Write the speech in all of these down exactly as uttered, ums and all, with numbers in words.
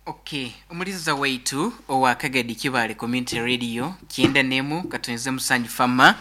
Okay, omuliza waitu owa Kagadi Kibale Community Radio kyenda nemu katonze musanju fama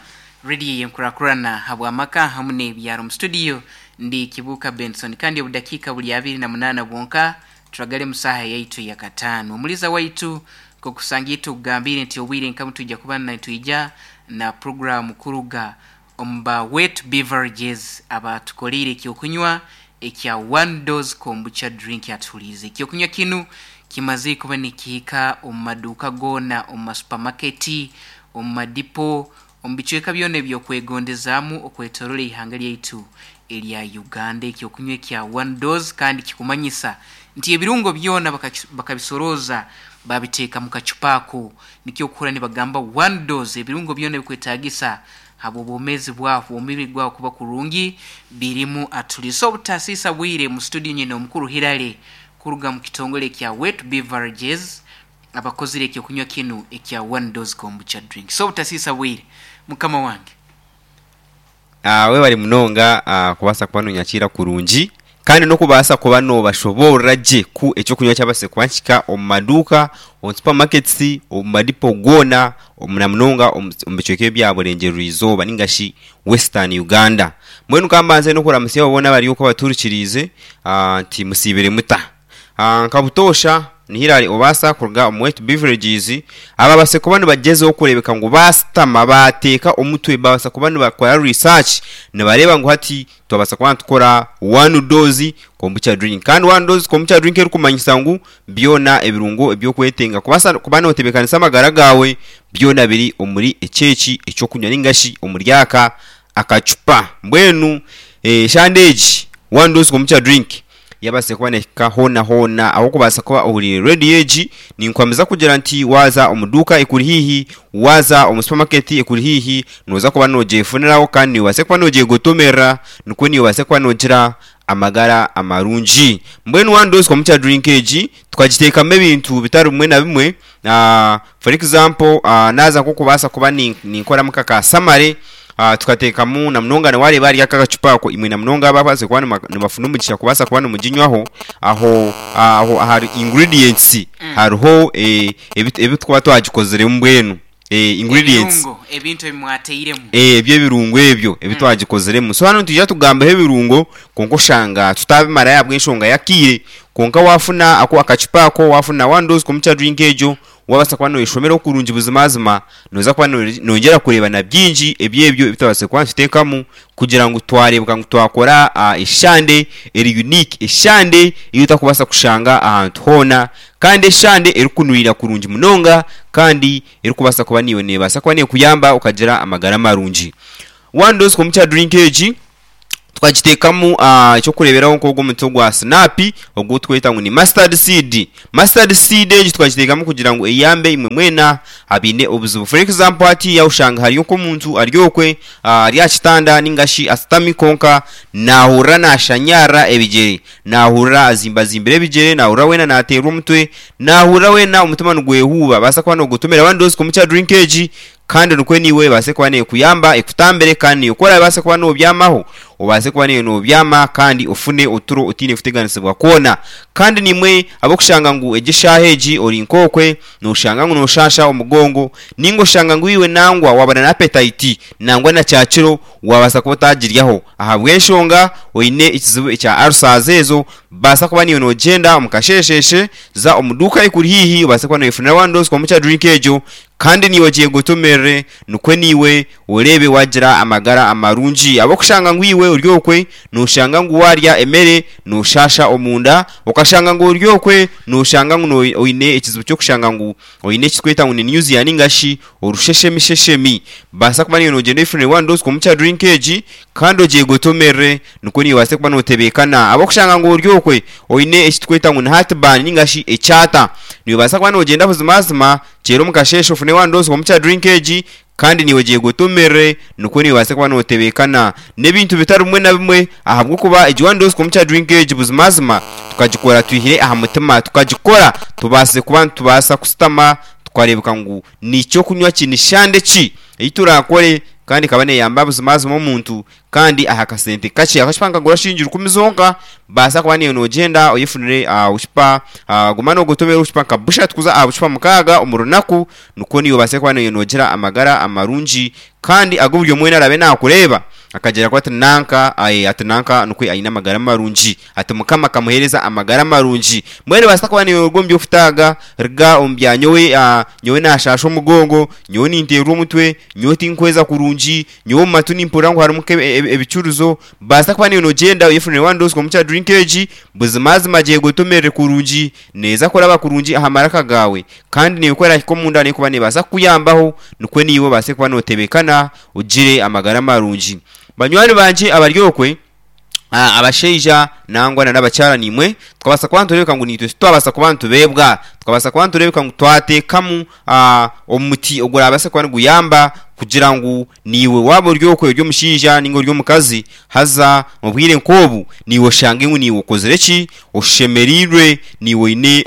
radio yenkurakurana habwamaka hamu n'ebyaro. Mu studio ndi Kibuka Benson, kandi obudakiika buli abiri na munaana bwonka turagale musaha yaitu ya kataano. Omuliza waitu kokusangira tugambire nti obwire nkamu tujja kuba nitwija na programu kuruga omuba Wet Beverages abatukolire ekyokunywa ekya One Dose Kombucha Drink. Atuhulize ekyokunywa kinu kimaze kuba nikihika omu maduuka goona, omu masupamaketi, omu madipo, omu bicweka byona ebyokwegondezaamu okwetorola eihanga lyaitu erya Uganda. Ekyokunywa ekya One Dose kandi kikumanyisa nti ebirungo byona bakabisorooza babiteeka mu kacupa ako, nikyo okuhurra nibagamba One Dose. Ebirungo byona ebikwetaagisa habw'obwomeezi bwawe, omubiri gwawe kuba kurungi, birimu. Atuliisa obutasiisa bwire mu studio nyine omukuru Hirale kuruga mu kitongole ekya Wet Beverages abakozire ekyokunywa kinu ekya One Dose Kombucha Drink. So obutasiisa bwire, mukama wange. Uh, webale munonga uh, kubaasa kuba nonyakiira kurungi kandi n'okubaasa kuba nobashoboorora gye ku ekyokunywa kyabase kuba nikihika omu maduuka, omu supermarkets, omu madipo goona, na munonga omu bicweka ebya burengyerwa izooba ningashi Western Uganda. Mbwenu kambanze n'okuramutsya abo boona abari okwo abaturikiriize nti musiibire muta. Nka butoosha ni Hillary Obaasa kuruga omu Wet Beverages ababase kuba nibagyezaho kureebeka ngu baasitama baateeka omutwe babaasa kuba nibakora research nibareeba ngu hati twabaasa kuba nitukora One Dose Kombucha Drink. Kandi One Dose Kombucha Drink erikumanyisa ngu byona ebirungo ebyokwetenga kubaasa kuba nootebeekanisa amagara gaawe byona biri omuri ekyeki ekyokunywa ningashi omuri aka akacupa. Mbwenu eshande egi One Dose Kombucha Drink yabaasa kuba neehika hoona hoona ahabw'okubaasa kuba ohuriire rediyo egi, ninkuhamiza kugira nti waaza omu duuka ekuri haihi, waaza omu supamaketi ekuri haihi, nooza kuba noogyefuniraho kandi obaase kuba noogyegotomerera nikwo niiwe obaase kuba noogira amagara amarungi. Mbwenu One Dose Kombucha Drink egi tukagiteekamu ebintu bitari bimwe na bimwe. For example, naaza nk'okubaasa kuba ninkoramu nka ka samare, tukateekamu na munonga waareeba ahari aka akacupa ako, imwe na munonga ababaasize kuba nibafuna omugisha kubaasa kuba nimuginywaho, aho aho ahari ingredients hariho ebi turikuba twagikoziremu mbwenu. Ingredients. Ebirungo, ebintu ebi mwateiremu. Ebyo ebirungo ebyo ebi twagikoziremu. So hanu nitwija tugambeho ebirungo kwonka oshanga tutabimarayo ahabw'enshonga y'akaire. Kwonka waafuna ako akacupa ako, waafuna One Dose Kombucha Drink egyo, waabaasa kuba nooyeshomeraho kurungi buzimazima, nooza kuba noyongyera kureeba na bingi ebyebyo ebi twabaasize kuba nituteekamu kugira ngu twareebeka ngu twakora eshande eri unique, eshande ei otarikubaasa kushanga ahantu hoona, kandi eshande erikunurira kurungi munonga kandi erikubaasa kuba naiwe neebaasa kuba neekuyamba okagira amagara marungi. One Dose Kombucha Drink egi tukagiteekamu ekyokureeberaho nk'ogu omuti ogwa sinaapi ogu turikweta ngu ni mustard seed. Mustard seed egi tukagiteekamu kugira ngu eyambe imwe mwena abaine obuzibu. For example hatiiya oshanga hariyo nk'omuntu ari okwe ari aha kitanda ninga shi ashutami kwonka naahurira naashanyarara ebigyere, naahurira azimbazimbire ebigyere, naahurira weena naateerwa omutwe, naahurira weena omutima nigwehuuba, baasa kuba noogotomera One Dose Kombucha Drink egi kandi nikwo naiwe ebaase kuba neekuyamba ekutambire kandi naiwe ku orabaase kuba noobyamaho obaase kuba naiwe noobyama kandi ofune oturo otaine kuteganisibwa kwona. Kandi naimwe ab'okushanga ngu egi eshaaha egi ori nk'okwe nooshanga ngu nooshaasha omugongo ninga oshanga ngu iwe nangwa waaba na apetayiti nangwa na kyakiro waabaasa kuba otaagiryaho ahabw'enshonga oine ekizibu ekya alusazi ezo, baasa kuba naiwe noogyenda omu kasheesheshe za omu duuka ekuri haihi obaase kuba nooyefunira One Dose Kombucha Drink egyo kandi naiwe ogyegotomerere nikwo naiwe oreebe waagira amagara amarungi. Ahabw'okushanga ngu iwe ori okwe nooshanga ngu waarya emere nooshaasha omunda, okashanga ngu ori okwe nooshanga ngu oine ekizibu ky'okushanga ngu oine eki turikweta ngu ni nausea ninga shi orusheshemisheshemi, baasa kuba naiwe noogyenda oyefunire One Dose Kombucha Drink egi kandi ogyegotomerere nikwo naiwe obaase kuba nootebeekana. Ahabw'okushanga ngu ori okwe oine eki turikweta ngu ni heartburn ninga shi ekyata, noobaasa kuba noogyenda buzimazima kyera omu kasheeshe ofune One Dose Kombucha Drink egi kandi naiwe ogyegotomerere nikwo naiwe obaase kuba nootebeekana n'ebintu bitari bimwe na bimwe ahabw'okuba egi One Dose Kombucha Drink egi buzimazima tukagikora twihire aha mutima, tukagikora tubaasize kuba nitubaasa kusitama tukareebeka ngu ni ky'okunywa ki, ni shande ki ei turaakore Kandi ekaba neeyamba buzimazima omuntu kandi aha kasente kakye. Akacupa nikagura shiringi rukumi zonka. Baasa kuba niiwe noogyenda oyefunire obucupa, guma noogotomera obucupa nka bushatu kuza aha bucupa mukaaga omu runaku, nikwo niiwe obaase kuba niiwe noogira amagara marungi kandi agu buri omwe weena araabe naakureeba akagira ngu ati nanka ati nanka nikwo aine amagara marungi, ati Mukama akamuheereza amagara marungi. Mbwenu noobaasa kuba niiwe oruga omu by'okutaaga, ruga omu bya nyowe nyowe naashaasha omugongo, nyowe ninteerwa omutwe, nyowe tinkweza kurungi, nyowe omu matu nimpurira ngu harimu ebicurizo. Baasa kuba niiwe noogyenda oyefunire one dose komukya drink egi, buzimazima gyegotomerere kurungi, neeza kuraba kurungi aha maraka gaawe, kandi naiwe ku erahika omunda neekuba neebaasa kukuyambaho nikwo naiwe obaase kuba nootebeekana ogire amagara marungi. Banywani bangye abari okwe, abashaija nangwa n'abakyara naimwe, tukabaasa kuba nitureebeka ngu naitwe titwabaasa kuba nitubeebwa, tukabaasa kuba nitureebeka ngu twateekamu omuti ogurabaase kuba niguyamba kugira ngu naiwe waaba ori okwe ori omushaija nainga ori omukazi, haza obwire nk'obu naiwe oshange ngu naiwe okozire ki? Oshemereirwe, naiwe oine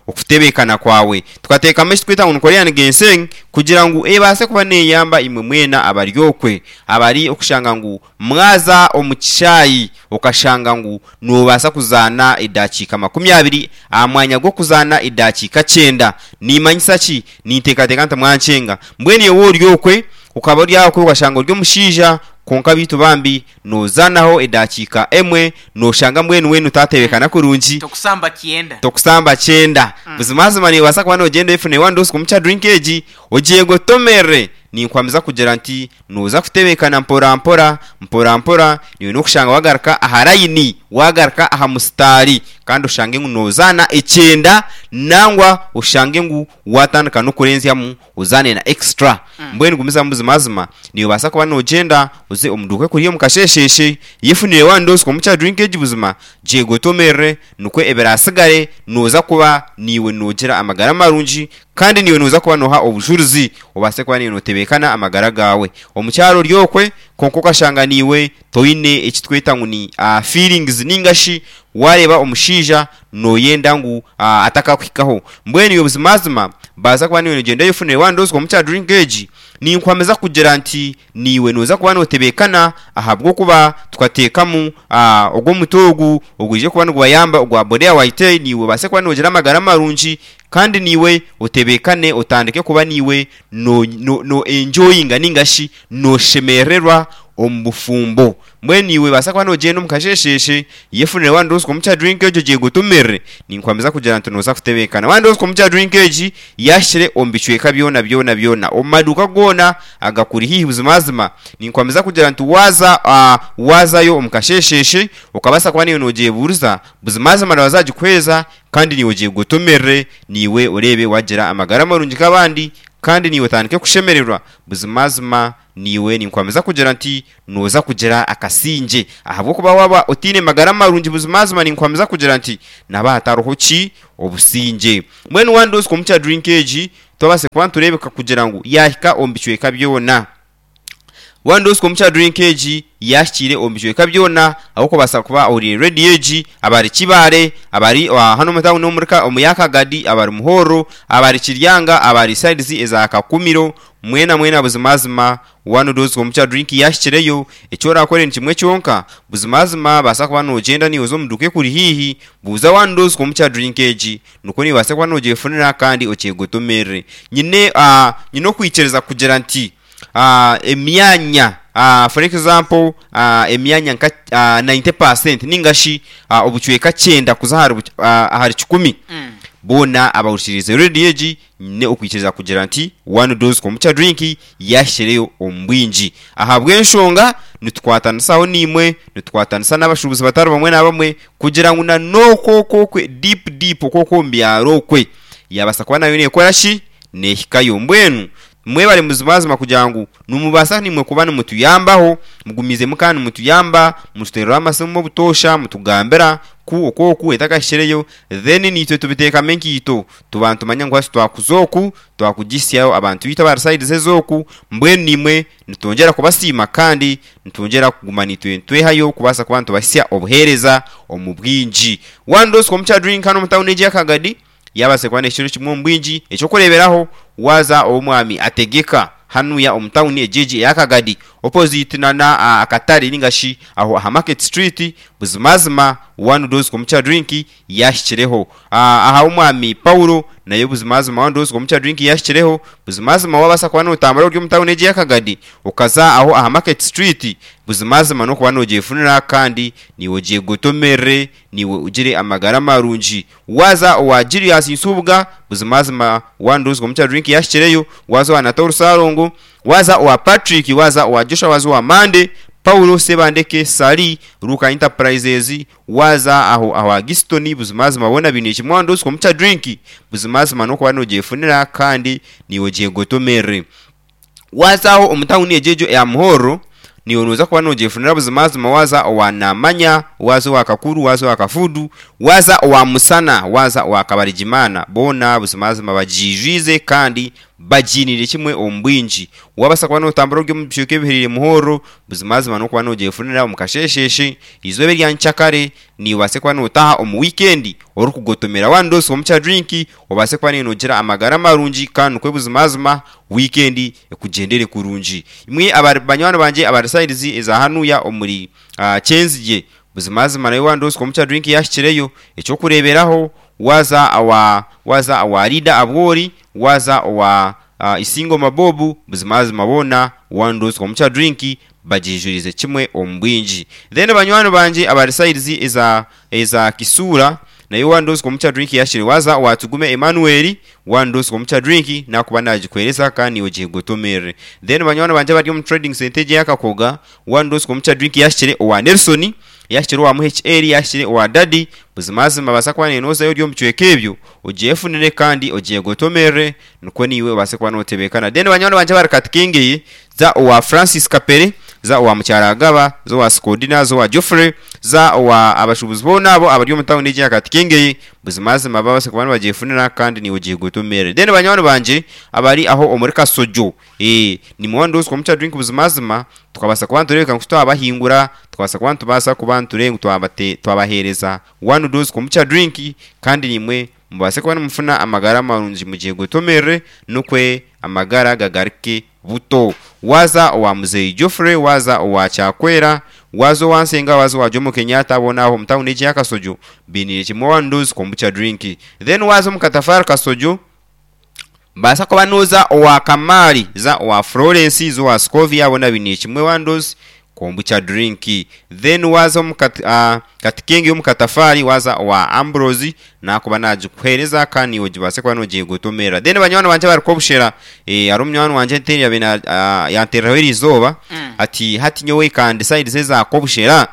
okutebeekana kwawe. Tukateekamu eki turikweta ngu ni Korean Ginseng kugira ngu ebaase kuba neeyamba imwe mwena abari okwe, abari okushanga ngu mwaza omu kishaayi okashanga ngu noobaasa kuzaana edakiika makumi abiri aha mwanya gw'okuzaana edakiika kyenda. Niimanyisa ki? Ninteekateeka nti mwankyenga. Mbwenu iwe waaba ori okwe, okaba ori okwe okashanga ori omushaija kwonka beitu bambi noozaanaho edakiika emwe, nooshanga mbwenu weena otaatebeekana kurungi. Tokusamba kyenda. Tokusamba kyenda. Buzimazima noobaasa kuba noogyenda oyefune one dose komukya drink egi, ogyegotomerere. Ninkwamiza kugira nti nooza kutebeekana mpora mpora, mpora mpora, naiwe n'okushanga waagaruka aha layini, waagaruka aha musitaari kandi oshange ngu noozaana ekyenda nangwa oshange ngu waatandika n'okurenzyamu ozaane na extra. Mbwenu gumizamu buzimazima, noobaasa kuba noogyenda oze omu duuka ekuri omu kasheesheeshe, yefunire one dose komukya drink egi buzima, gyegotomerere nikwo ebiraatsigare nooza kuba naiwe noogira amagara marungi kandi naiwe nooza kuba nooha obujurizi obaase kuba naiwe nootebeekana amagara gaawe. Omukyara ori okwe kwonka okashanga naiwe toine eki turikweta ngu ni feelings nainga shi waareeba omushaija nooyenda ngu atakakuhikaho. Mbwenu iwe buzimazima baasa kuba naiwe noogyenda oyefunire one dose komukya drink egi, ninkwamiza kugira nti naiwe nooza kuba nootebeekana ahabw'okuba tukateekamu ogu omuti ogu ogwije kuba nigubayamba ogwa Borea White naiwe obaase kuba noogira amagara marungi kandi naiwe otebeekane otandike kuba naiwe no no enjoyinga nainga shi nooshemererwa omu bufumbo. Mbwenu iwe baasa kuba noogyenda omu kasheesheeshe, yefunire one dose komukya drink egyo gyegotomerere, ninkwamiza kugira nti nooza kutebeekana. One dose komukya drink egi yaahikire omu bicweka byona byona byona, omu maduuka goona agakuri haihi buzimazima, ninkwamiza kugira nti waaza waazayo omu kasheesheeshe okabaasa kuba naiwe noogyebuuriza, buzimazima nibaza kugikuheereza kandi naiwe ogyegotomerere, naiwe oreebe waagira amagara marungi nk'abandi kandi naiwe otandike kushemererwa. Buzimazima naiwe ninkwamiza kugira nti nooza kugira akasingye ahabw'okuba waaba otaine magara marungi buzimazima ninkwamiza kugira nti nihaba hatariho ki? Obusingye. Mbwenu one dose komukya drink egi twabaasa kuba nitureebeka kugira ngu yaahika omu bicweka byona. One dose komukya drink egi yaahikiire omu bicweka byona ahabw'okubaasa kuba ohuriire rediyo egi, abari Kibaale, abari hanu omu tawuni omuri omu ya Kagadi, abari Muhorro, abari Kiryanga, abari sides eza Kakumiro, mwena mwena buzimazima one dose komukya drink yaahikireyo, eki oraakore ni kimwe kyonka, buzimazima baasa kuba noogyenda naiwe oze omu duuka ekuri haihi, buuza one dose komukya drink egi, nikwo naiwe obaase kuba noogyefunira kandi okyegotomerere. Nyine nyine okwikiriza kugira nti emyanya for example emyanya nka ninety percent nainga shi obucweka kyenda kuza ahari kikumi boona abahurikiriize rediyo egi nyine okwikiriza kugira nti one dose komukya drink yaahikireyo omu bwingi. Ahabw'enshonga nitukwatanisaho naimwe, nitukwatanisa n'abashuubuzi batari bamwe na bamwe kugira ngu na n'okwo okwo okwe deep deep okwo okwo omu byaro okwe yaabaasa kuba nayo neekora ki? Neehikayo. Mbwenu mwebare buzimazima kugira ngu nimubaasa naimwe kuba nimutuyambaho, mugumiizemu kandi nimutuyamba, mututeereraho amasimu obutoosha, mutugambira ku oku oku etakahikireyo, then naitwe tubiteekamu enkaito, tuba nitumanya ngu hati twakuza oku, twakugihisyaho abantu baitu abari sides ez'oku, mbwenu naimwe nitwongyera kubasiima kandi nitwongyera kuguma naitwe nitwehayo kubaasa kuba nitubahisya obuheereza omu bwingi. One dose komukya drink hanu omu tawuni egi eya Kagadi, yaabaasa kuba n'ekiro kimwe omu bwingi. Eky'okureeberaho, waaza ow'omwami Ategeka, Hanuya omu tawuni egigi eyakagadi opposite na akatare ningashi aho aha Market Street, buzimazima one dose kombucha drink yahikireho. Aha omwami Paulo nayo buzimazima one dose kombucha drink yahikireho. Buzimazima wabasa kuba notambura ori omu tawuni egi eyakagadi okaza aho aha Market Street, buzimazima nokuba nogyefunira kandi niiwe ogyegotomerere, niiwe ogire amagara marungi. Waza owa Julius Nsubuga, buzimazima one dose kombucha drink yahikireyo. Waza owa Natoru Sarongo, waza owa Patrick, waza owa Joshua, waza owa Mande Paulo Sebandeke Sali Ruka Enterprises, waza aho aho Giston, buzimazima bona bine kimwe one dose kombucha drink, buzimazima nokuba nogyefunira kandi niiwe ogyegotomerere. Wazaho omu tawuni egyo eya Muhoro, niiwe noza kuba nogyefunira buzimazima. Waza owa Namanya, waza owa Kakuru, waza owa Kafudu, waza owa Musana, waza owa Kabarigimana, boona buzimazima bagiijwize kandi bagiinire kimwe omu bwingi. Wabasa kuba notambura ori omu bicweka ebihererire Muhoro, buzimazima nokuba nogyefunira omu kashesheshe izooba erya nkyakare, niiwe kuba notaha omu weekend orikugotomera one dose kombucha drink, obaase kuba nogira amagara marungi kandi nikwo buzimazima weekend ekugyendere kurungi. Imwe abari banywani bangye abari sides eza hanuya omuri uh, Kyenzigye, buzimazima nayo one dose kombucha drink yahikireyo. Ekyokureeberaho, waza awa waza awa Rida Abwori, waza owa uh, Isingo Mabobu, buzimazima boona one dose kombucha drink bagijurize kimwe omu bwingi. Then banywani bangye abari sides eza eza Kisura, nayo one dose kombucha drink yashire. Waza watugume Emmanuel, one dose kombucha drink nakuba nagikwereza kandi ogyegotomerere. Then banywani bangye bari omu trading center yakakoga, one dose kombucha drink yashire owa Nelson, yashire owa M H L, yashire owa Daddy. Buzimazima basa kuba nenozayo ori omu bicweka ebyo, ogyefunire kandi ogyegotomerere, nikwo niiwe obase kuba notebekana. Then banywani bangye bari Katikengeye, za owa Francis Kapere, za owa Mukyaragaba, za owa Skodina, za owa Geoffrey, za owa abashubuzi boona abo abari omu tawuni egi ya Katikengeye, buzimazima babase kuba nibagyefunira kandi niiwe ogyegotomerere. Then banywani bangye abari aho omuri Kasojo, eh nimwe one dose kombucha drink buzimazima tukabasa kuba nitureebeka ngu twabahingura, tukabasa kuba nitubaasa kuba niturenga twabaheereza one dose kombucha drink, kandi nimwe mubase kuba nimufuna amagara marungi, mugyegotomerere nukwe amagara gagaruke buto. Waza owa Muzeyi Geoffrey, waza owa Kyakwera, waza owa Nsenga, waza owa Jomo Kenyatta, boona aho omu tawuni egi ya Kasojo bainiire kimwe one dose kombucha drink. Then waza omu Katafari Kasojo, baasa kuba noza owa Kamari, za owa Florence, za owa Scovia, boona bainiire kimwe one dose kombucha drink. Then waza omu kat, uh, Katikenge omu Katafari, waza owa Ambrose, nakuba nagikuheereza kandi ogibase kuba nogyegotomera. Then banywani bangye bari kobushera, eh ari omunywani wangye nteri yabe uh, yantereraho erizooba Mm. ati hati nyowe kandi side eza kobushera,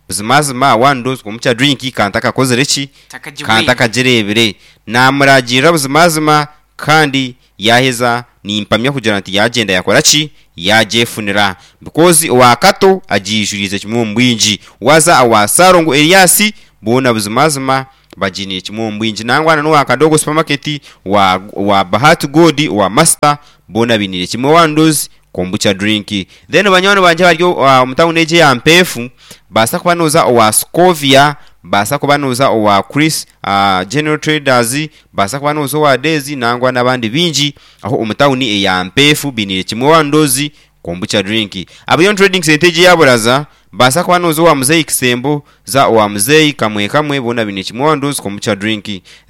buzimazima one dose kombucha drink kanta kakozere ki Takagibwine. kanta kagirebire. Namuragirira buzimazima kandi yaheza nimpamya kugira nti yagenda yakora ki, yagyefunira, because owa Kato agiijurize kimwe omu bwingi. Waza owa Sarongo Elias, boona buzimazima bagiiniire kimwe omu bwingi. Nangwa n'owa Kadogo supermarket, wa, wa Bahati God, wa Master, boona bainiire kimwe one dose kombucha drink. Then banywani bangye bari uh, omu tawuni egi eya Mpeefu, baasa kuba noza owa Scovia, baasa kuba noza owa Chris uh, General Traders, baasa kuba noza owa Daisy, nangwa n'abandi bingi aho omu tawuni eya Mpeefu bainiire kimwe one dose kombucha drink. Abayo trading center egi yaburaza, baasa kuba noza owa Muzeyi Kisembo, za owa Muzeyi Kamwe Kamwe, boona bainiire kimwe one dose kombucha drink.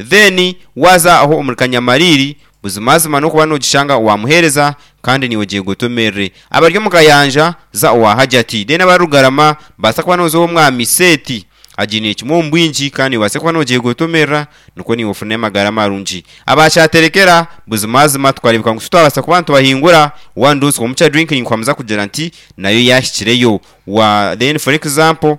Then waza aho omuri Kanyamariri, buzimazima nokuba nogishanga owamuheereza kandi niwe ogyegotomerere. Abari omu Kayanja, za owa Hajati. Then abari Rugarama, baasa kuba noza ow'omwami Seti, agiiniire kimwe omu bwingi kandi obaase kuba nogyegotomerera, nikwo niiwe ofune amagara marungi. Abakyaterekera, buzimazima tukareebeka ngu twabasa kuba nitubahingura one dose kombucha drink, ninkwamiza kugira nti nayo yahikireyo. Wa then for example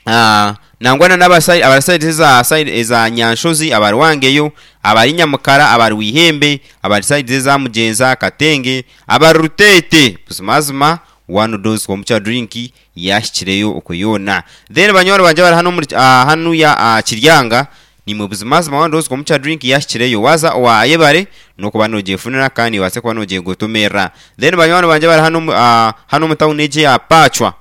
uh, nangwa n'abasai abasai eza side eza Nyanshozi, abarwangeyo, abari Nyamukara, abari Wihembe, abari side eza Mugenza Katenge, abari Rutete, buzimazima one dose kombucha drink yahikireyo okwo yoona. Then banywani bangye bari hano muri uh, hanu ya uh, Kiryanga, nimwe buzimazima one dose kombucha drink yahikireyo. Waza owa Ayebare, nokuba nogyefunira kandi obase kuba nogyegotomerera. Then banywani bangye bari hano uh, hano mu tawuni egi ya Pachwa,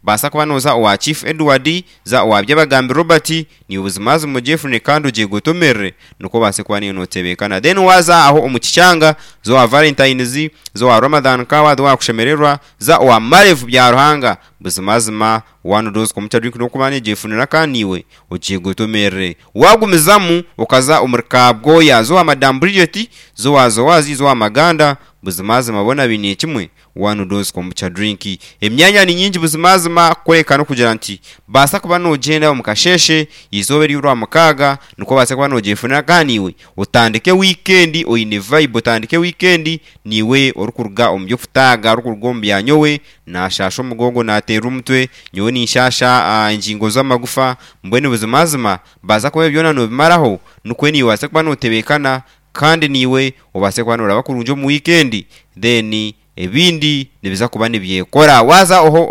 Baasa kuba nooza owa Chief Edward, za owa Byabagambi Robert, niiwe buzimazima ogyefune kandi ogyegotomerere nikwo obaase kuba niiwe nootebeekana. Then waaza aho omu Kikyanga, za owa Valentines, za owa Ramadhan Kawa, za owa Kushemererwa, za owa Marevu Byaruhanga, buzimazima one dose kombucha drink n'okuba negyefunira kandi niiwe ogyegotomerere. Waagumizamu okaza omuri Kabwoya, za owa Madam Bridget, za owa Zowazi, za owa Maganda, buzimazima boona baine kimwe one dose kombucha drink. Emyanya ni nyingi buzimazima kworeka n'okugira nti baasa kuba noogyenda omu kasheeshe eizooba ery'orwamukaaga nikwo obaase kuba noogyefunira kandi niiwe otandike wiikendi oine vibe, otandike wiikendi niiwe orikuruga omu by'okutaaga, orikuruga omu bya nyowe naashaasha omugongo naateera omutwe, nyowe ninshaasha engingo z'amagufa, mbwenu buzimazima baasa kuba ebyo byona noobimaraho nikwo niiwe obaase kuba nootebeekana kandi niiwe obaase kuba nooraba kurungi omu wiikendi then ebindi nibiza kuba nibyekora. Waaza oho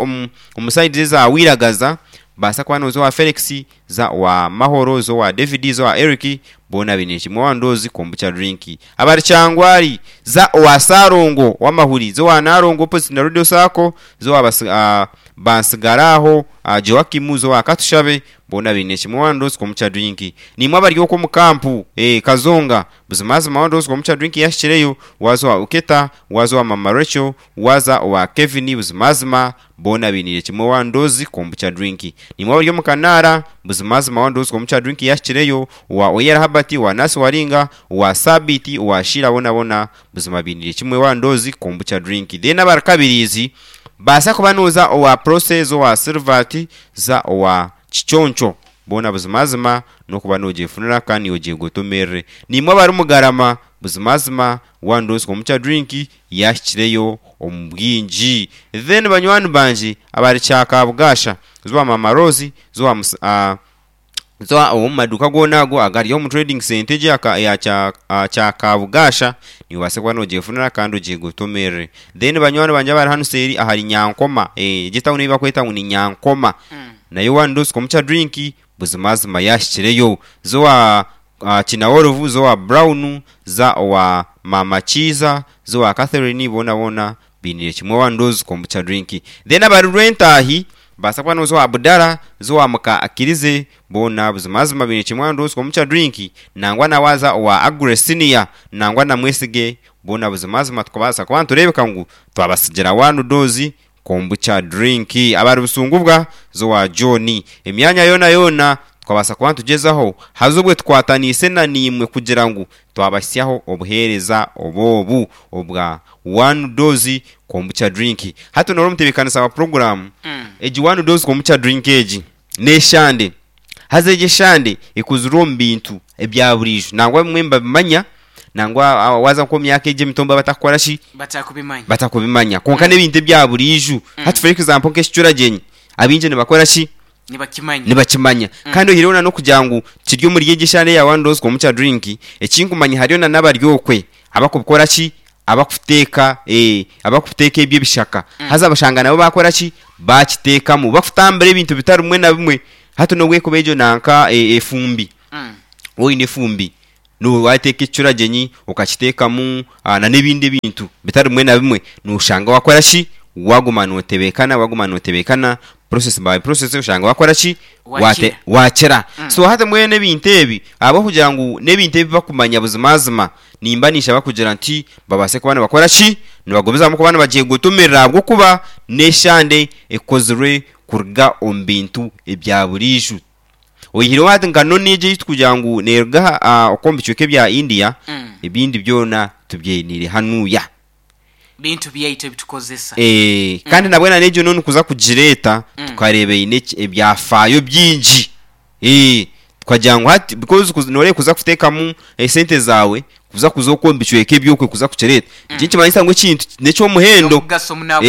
omu sayidi eza Wiragaza, baasa kuba nooza owa Felix, za owa Mahoro, za owa David, za owa Eric, boona baine kimwe one dose kombucha drink. Abari Kyangwari, za owa Sarongo ow'amahuri, za owa Narongo opposite na Radio Sacco, za owa Bansigaraho Joakim, za owa Katushabe, boona baine kimwe one dose kombucha drink. Niimwe abari okwo omu kampu Kazonga, buzimazima one dose kombucha drink yahikireyo, waaza owa Uketa, waaza owa Mama Rachel, waaza owa Kevin, buzimazima boona bainiire kimwe one dose kombucha drink. Niimwe abari omu Kanaara, buzimazima one dose kombucha drink yahikireyo, owa Oyera Habert, owa Nasi Waringa, owa Sabiti, owa Sheila boona boona buzima bainiire kimwe one dose kombucha drink. Then abari Kabiriizi, baasa kuba nooza owa Process, owa Silvert, za owa Kiconco, boona buzimazima n'okuba noogyefunira kandi ogyegotomerere. Niimwe abari Mugarama, buzimazima one dose kombucha drink yahikireyo omu bwingi. Then banywani bangye abari Kyakabugasha, za owa Mama Rose, za owa za omu maduuka goona ago agari omu trading centre egi eya Kyakabugasha, niiwe obaase kuba noogyefunira kandi ogyegotomerere. Then banywani bangye abari hanu seeri ahari Nyankoma, egi etawuni ei barikweta ngu ni Nyankoma, nayo one dose kombucha drink buzimazima yahikireyo. Za owa Kinawolovu, za owa Brown, za owa Mama Kiiza, za owa Catherine, boona boona bainiire kimwe one dose kombucha drink. Then abari Rwentaahi, baasa kuba nooza owa Budara, za owa Muka Akirize, boona buzimazima baine kimwe one dose kombucha drink, nangwa na waaza owa Agre Senior, nangwa na Mwesige, boona buzimazima tukabaasa kuba nitureebeka ngu twabasigira one dose kombucha drink. Abari Busungubwa, za owa John, emyanya yoona yoona tukabaasa kuba nitugyezaho haza obwe tukwataniise na niimwe kugira ngu twabahitsyaho obuheereza obwobu obwa one dose kombucha drink. Hati noora omutebeekanisa wa puroguraamu, egi one dose kombucha drink egi n'eshande, haza egi eshande ekozirwe omu bintu ebya buriijo nangwa bimwe nibabimanya, nangwa waaza nk'omu myaka egi emito nibabatakukora ki? Batakubimanya. Batakubimanya. Kwonka n'ebintu ebya buriijo. Hati for example nk'ekicuragyenyi, abaingi nibakora ki? Nibakimanya. Nibakimanya. Kandi oihireho na n'okugira ngu kiri omuri egi eshande eya one dose kombucha drink, ekinkumanya hariyo na n'abari okwe abakubikora ki? Abakuteeka abakuteeka ebyo ebishaka. Haza bashanga nabo baakora ki? Baakiteekamu. Bakutambura ebintu bitari bimwe na bimwe. Hati n'obu ekuba egyo nanka efumbi, waaba oine efumbi, waateeka ekicuragyenyi okakiteekamu na n'ebindi ebintu bitari bimwe na bimwe, nooshanga waakora ki? Waaguma nootebeekana, waaguma nootebeekana, process by process oshanga waakora ki? Wakira. Wakira. So hati mbwenu ebintu ebi ahabw'okugira ngu n'ebintu ebi bakumanya buzimazima, nimba ninshaba kugira nti babaase kuba nibakora ki? Nibagumizamu kuba nibagyegotomerera ahabw'okuba n'eshande ekozirwe kuruga omu bintu ebya buriijo. Oihireho hati nka noni egi ei turikugira ngu neeruga okwo omu bicweka ebya India, ebindi byona tubyeniire hanuya. Bintu byaitu ebitukozesa. Kandi nabwo n'egyo noni kuza kugireeta tukareeba eine ebyafaayo bingi. Tukagira ngu hati because nooreeba kuza kuteekamu esente zaawe kuza kuza okwo omu bicweka eby'okwe kuza kukireeta, eki nikimanyisa ngu ekintu n'eky'omuhendo. Eky'omugasho muno aha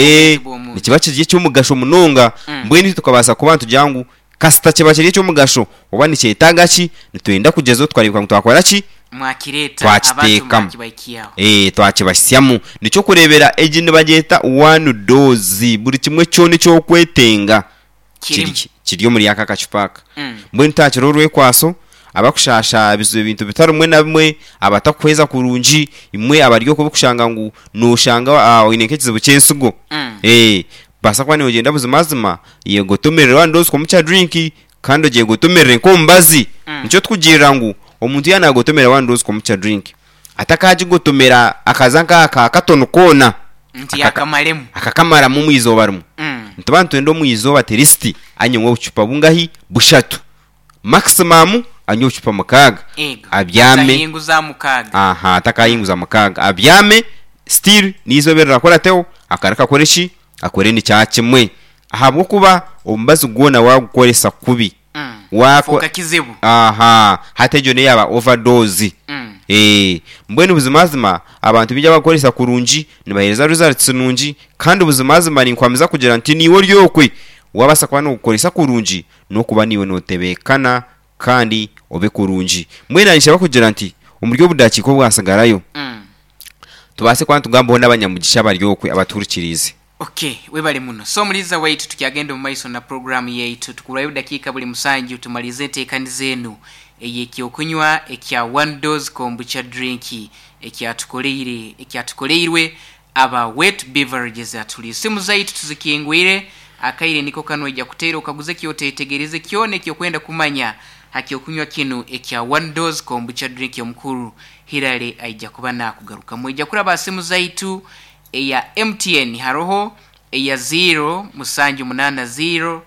bwomeezi Nikiba kiri eky'omugasho munonga, mbwenu itwe tukabaasa kuba nitugira ngu kasita kiba kiri eky'omugasho oba nikyetaaga ki, nitwenda kugyezaho tukareebeka ngu twakora ki? Mwakireeta abantu Twakiteekamu. mwakibahikyaho. Twakibahitsyamu. Nikyo kureebera egi nibagyeta one dose, buri kimwe kyona eky'okwetenga Kirimu. kiri omuri aka akacupa aka. Mm. Mbwenu tihaakiriho orwekwaso, abakushaasha ebintu bitari bimwe na bimwe, abatakuhweza kurungi, imwe abari okwo abarikushanga ngu nooshanga oine nk'ekizibu ky'ensigo. Mm. Baasa kuba nogyenda buzimazima yegotomerere one dose kombucha drink kandi ogyegotomerere nk'omubazi. Mm. Nikyo tukugirira ngu omuntu yaaba nagotomera one dose kombucha drink atakagigotomera akaza nk'aka katono koona Nti Akaka- yakamaremu. akakamaramu omu izooba rimwe. Mm. Nituba nitwenda omu izooba at least anywe obucupa bungahi? Bushatu. Maximum anywe obucupa mukaaga. Ego. Abyame. Atahinguza mukaaga. Aha, atakahinguza mukaaga. Abyame still n'eizooba erirakorateho akareka akore ki? Akore nikya kimwe. Ahabw'okuba omubazi gwona waagukoresa kubi. Mm. Wako Fuuka kizibu. Aha, hati egyo neyo yaaba overdose. Mm. Eh, mbwenu buzimazima abantu baingi abakukoresa kurungi nibaheereza results nungi kandi buzimazima ninkwamiza kugira nti niiwe ori okwe wabaasa kuba nogukoresa kurungi n'okuba niiwe notebeekana kandi obe kurungi. Mbwenu ninshaba kugira nti omuri obudakiika obwasigarayo Mm. tubaase kuba nitugambaho n'abanyamugisha abari okwe abatuhurikiriize. Okay, webale muno. So muliza waitu, tukyagenda omu maiso na programu yaitu, tukurayo dakiika buli musanju tumalize enteekaniza enu ey'ekyokunywa ekya one dose kombucha drink ekyatukoleire ekyatukoleirwe aba Wet Beverages. Atuli esimu zaitu tuzikingwire, akaire niko kano ojja kuteera okaguze kyotetegereze kyona ekyokwenda kumanya hakyokunywa kinu ekya one dose kombucha drink. Omukuru Hirale aija kuba nakugarukamu. Ojja kuraba simu zaitu eya M T N haroho eya zero musanju munana zero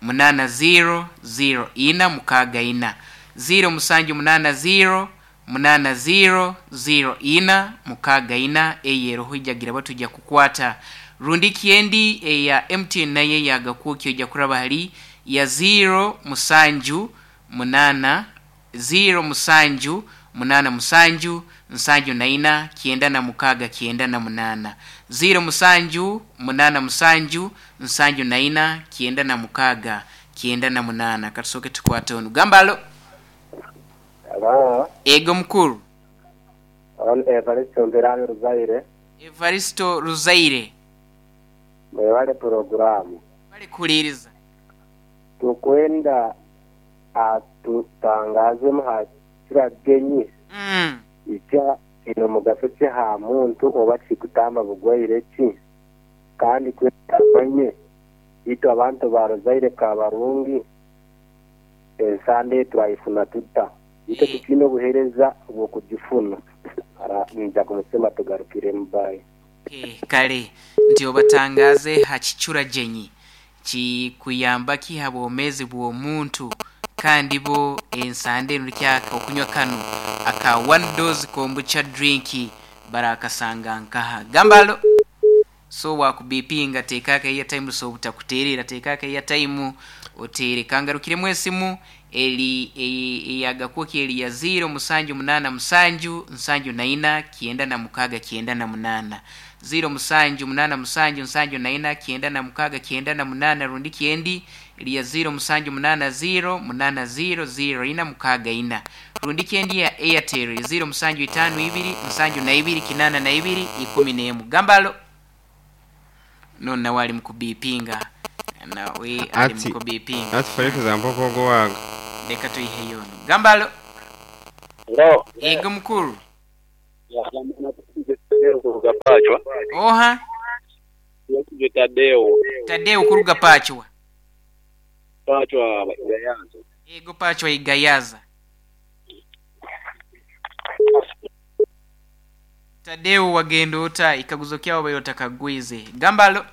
munana zero zero ina mukaaga ina, zero musanju munana zero munana zero zero ina mukaaga ina. Eyo eroho ijagira batujja kukwata rundi kiendi eya M T N naye yagakuki ojja kuraba hali ya zero musanju munana zero musanju munana musanju nsanju na ina kienda na mukaaga kienda na munana, zero musanju munana musanju nsanju na ina kienda na mukaaga kienda na munana. Katusoke tukwate onu gambalo. Hello. Ego mukuru. On Evaristo Mbirani Ruzaire. Evaristo Ruzaire. Mwebale programu. Bali kuliriza. Tukwenda atutangaze muhakira genyi. Mm. Icya ino mugaso ha muntu oba kikutamba bugwaire ki kandi kwetanye itu abantu ba Ruzaire kabarungi ensande twayifuna tuta ito Eh. tukino obuhereza bw'okugifuna ara nja kumusema tugarukire mbaye. Okay, kale nti obatangaze hakichura jenyi kikuyamba ki habwomezi bw'omuntu kandi bo ensande eno okunywa kano aka one dose kombucha drink barakasanga nkaha gambalo. So wakubipinga tekaka iya time so butakuterera tekaka iya time otere kangarukiremu esimu eli eyagakuki eli ya zero musanju munana musanju nsanju na ina kienda na mukaga kienda na munana, zero musanju munana musanju nsanju na ina kienda na mukaga kienda na munana rundi kiendi eli ya zero musanju munana zero munana zero zero ina mukaga ina rundi kiendi ya Airtel zero musanju itano ibiri nsanju na ibiri kinana na ibiri ikumi n'emu gambalo. No na wali mukubipinga na we ali Ati- mukubipinga Ati for example kogo waga leka tuyihe yono gambalo. Hello. Ego mukuru. Kuruga Pachwa. Oha Yakije Tadeo. Tadeo kuruga Pachwa. Pachwa Igayaza. Ego Pachwa Igayaza. Tadeo wagenda ota ikaguzo kyawo bayota kagwize gambalo.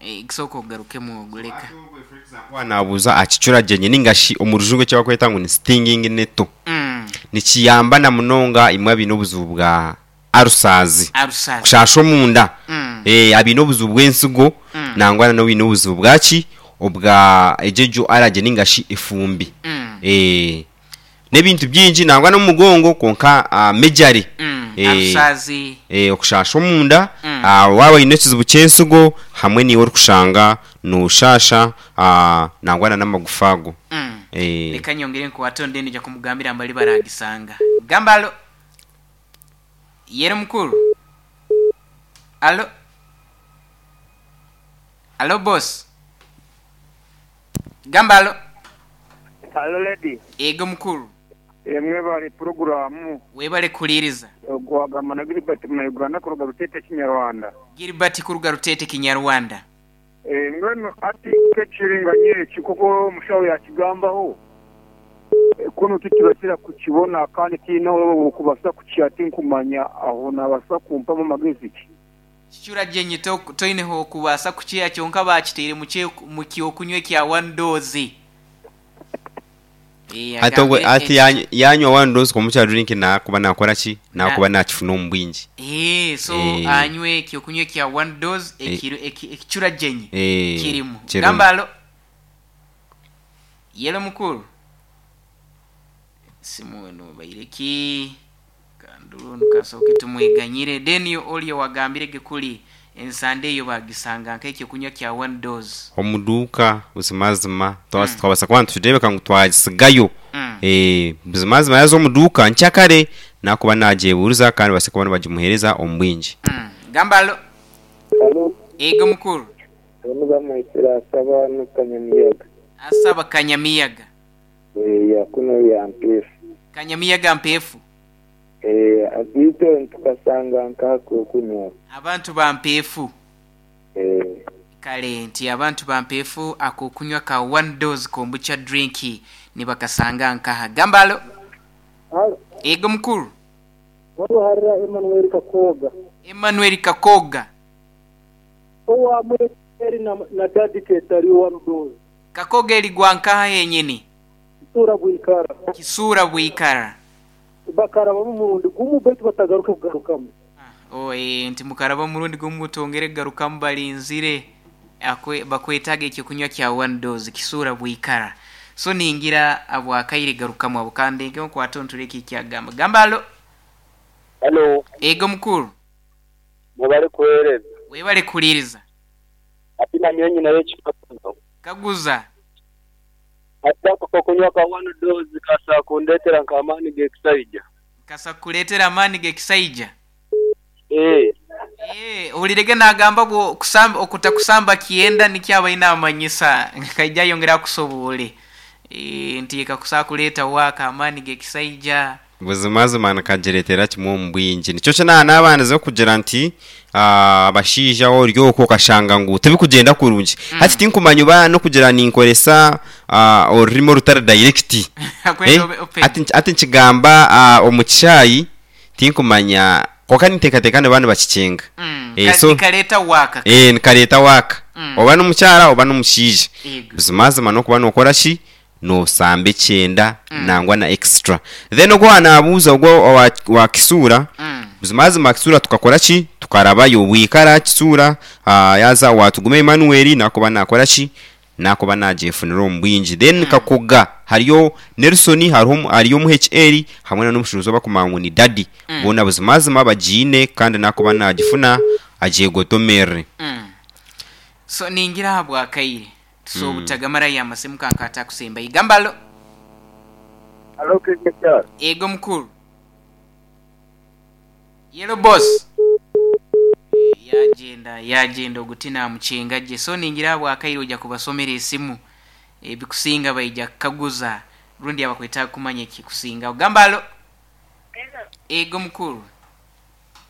E, kisoko ogarukemu oguleka. Wanabuza akicura jenye ningashi omurujungu ekyabakweta ngu ni stinging netto. Mm. Nikiyamba na munonga imwe abine obuzibu bwa arusazi. Arusazi. Kushasha omunda. Mm. Eh, abine obuzibu bw'ensigo Mm. nangwa na bine obuzibu bwaki obwa ejejo araje ningashi efumbi. Mm. Eh, n'ebintu byingi nangwa n'omugongo konka uh, mejari. Mm. Eh, Arusazi. Eh, okushasha omunda Mm. uh, waba oyine ekizibu ky'ensigo hamwe niiwe orikushanga noshasha uh, nangwa na n'amagufa ago. Mm. Eh, Leka nyongere nkuwate onde nja kumugambira mbali baragisanga. Gambalo. Yere mukuru. Alo. Alo boss. Gambalo. Hello lady. Ego mukuru. Emwe bari programu Webale kuliriza. Gwagamba na Gilbert na Uganda kuruga Rutete Kinyarwanda. Gilbert kuruga Rutete Kinyarwanda. Eh ngweno ati kekiringanye eki kuko omushaho yakigambaho. Eh, Kuno tukibasira kukibona kandi tiina kubasa kukyati nkumanya aho nabasa kumpamu amagezi ki. Kichura jenye to toineho kubasa kukiya kyonka bakiteire mu kye mu kyokunywa kya one dose. Eh, ati ogwe- agambire ati eki- yanyu- yanywa one dose kombucha drink nakuba nakora ki nakuba nakifuna omu bwingi. Eh, so Eh. anywe ekyokunywa kya one dose Eh. ekiro eki- ekicura jenye Eh, kirimu. kirimu. Gamba alo. Yelo mukuru. Simu eno baireki kandulu nkasoke tumweganyire then olio wagambire gekuli ensande eyo bagisanga nk'ekyokunywa kya one dose. Omuduuka buzimazima twabasa twabasa kuba niturebeka ngu twagisigayo. Mm. Eh, buzimazima yaza omuduuka nkyakare nakuba nagyebuuriza kandi base kuba nibagimuheereza omu bwingi. Mm. Gamba alo. Halo, Ego mukuru. bano bamwitira asaba n'Kanyamiyaga. Asaba Kanyamiyaga. Eh, ya kuno ya mpefu. Kanyamiyaga mpefu. Eh, abito tukasanga nkako kunywa. Abantu ba mpefu. Eh, Kale nti abantu ba mpefu akokunywa ka one dose kombucha drink nibakasanga nkaha. Gamba alo. Halo, Ego mukuru. waruharira Emmanuel Kakoga. Emmanuel Kakoga. Owa mweri na, na dadi ketari one dose. Kakoga erigwa nkaha yenyini. Sura bwikara. Kisura bwikara. Bakaraba mu murundi gumu betu batagaruka kugarukamu. Oh, eh, nti mukaraba murundi gumutongere garukamu balinzire akwe bakwetaga ekyokunywa kya one dose kisura bwikara. So ningira abwakaire garukamu abo kandi nge nkwata ntureke ekyagamba. Gamba alo. Halo, Ego mukuru. mubale kuhereza. Webale kuliriza. Ati na nyonyi nayo chikakuzo. Kaguza. Ati ako kokunywa ka one dose kasa kundetera nkamani gekisaija. Kasa kuletera amani gekisaija. Eh, Eh, ulirege nagamba bwo kusamba okutakusamba kienda nikyaba inamanyisa kaija yongera kusobole. Eh, nti kakusa kuleta waka amani gekisaija. Buzimazima nikagireetera kimwe omu bwingi nikyo kina n'abaana kugira nti ah, abashaija ori okwo okashanga ngu tibikugenda kurungi hati tinkumanya oba n'okugira ninkoresa ah, orurimi orutari direct. Akwenda Eh, obe open. ati ati nkigamba ah, omu kishaayi tinkumanya konka ninteekateeka niba nibakikinga. Mm, Eh, ka- so- nikaleta waka. Eh, nikareeta waaka Mm. oba n'omukyara oba n'omushaija. Ego. Buzimazima n'okuba nokora ki nosamba ekyenda nangwa na extra then ogwo wanabuuza ogwo owa, wa kisuura. Mm. Buzimazima kisuura tukakora ki tukarabayo bwikara kisuura uh, yaza watugume Emmanuel nakuba nakora ki nakuba nagyefunira omu bwingi then Kakoga hariyo Nelson hariho hariyo omu H L hamwe na n'omushuruzi obakumanya ngu ni dadi Mm. boona buzimazima bagiine kandi nakuba nagifuna agyegotomerere. Mm. So ningira habwakaire. So butagamara ya masimu kankata kusemba. Igambalo. Halo Kekechar. Ego mukuru. Yellow boss. Yagenda yagenda ogutina muchenga je. So ningira bwakaire ojja kubasomera esimu ebikusinga baija kukaguza rundi abakweta kumanya ekikusinga. Ogamba alo. Ego mukuru.